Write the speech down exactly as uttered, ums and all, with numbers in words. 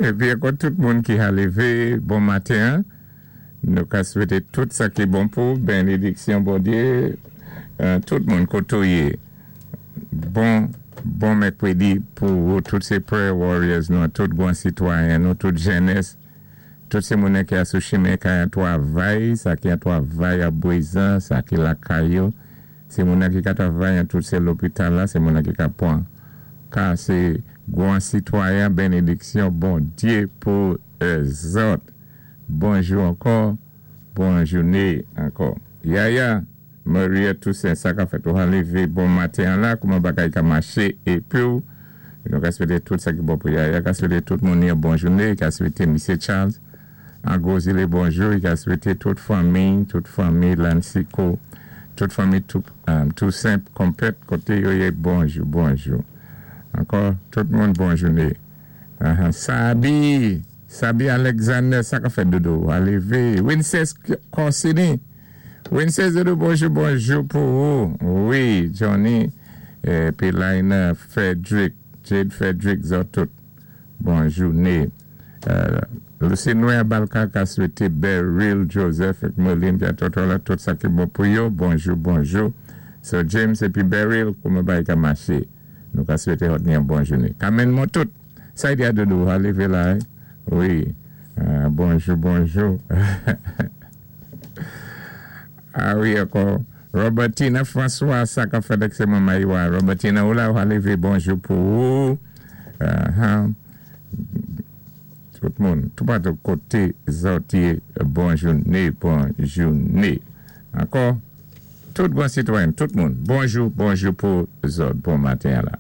Épi ankò tout moun ki ka lévé bon maten. Nou ka swété tout sa ki bon pou bénédiksyon Bondyé euh, tout moun koté ou yé. Bon bon mèkwédi pou tout sé prayer warriors nou, tout bon sitwayen nou, tout jènès, tout sé moun ki a sou chimen ki an twavay, sa ki an twavay a Bwézan, sa ki lakay yo, sé moun ki ka twavay an tout sé lopital la, sé moun ki ka pwan ka sé gwan sitwayen bénédiksyon Bondyé pou zòt. Bonjou ankò, bon jouné ankò. Yaya, Maria Toussaint, sa ka fèt ou lévé bon maten la, kouman bagay ka maché épi nou ka swété tout sa ki bon pou Yaya, ka swété tout moun yon bon jouné, ka swété Misye Charles, an Gozile bonjou, ka swété tout fanmi, tout fanmi Lansiko, tout fanmi tout, um, Toussaint konplèt koté yo yé bonjou, bonjou. Ankò, tout moun bon jouné. Uh -huh. Sabi, Sabi Alexander, sa ka fèt dodo, a lévé. Winces Corsini, Winces dodo, bonjou, bonjou pou ou. Wi, Johnny, épi Lina Frederick, Jade Frederick, zòt tout. Bon jouné. Euh, Lucie Balka ka swété Beryl Joseph ak Merlin ki a la, tout sa ki bon pou yo. Bonjou, bonjou. So James épi Beryl, kouman bagay ka maché. Nou ka swété yon bon jouné. Kamen mwen tout. Sa y dodo, a lévé la. Hein? Wi. Euh, bonjou, bonjou. Ah wi, ankò. Robertina François, sa ka fèt ak sé manman Iwa. Robertina, ou la, ou lévé, bonjou pou ou. Uh -huh. Tout moun, tout patou koté zòt yé, bon jouné, bon jouné. Ankò, tout bon sitwayen, tout moun, bonjou, bonjou pou zòt, bon maten la.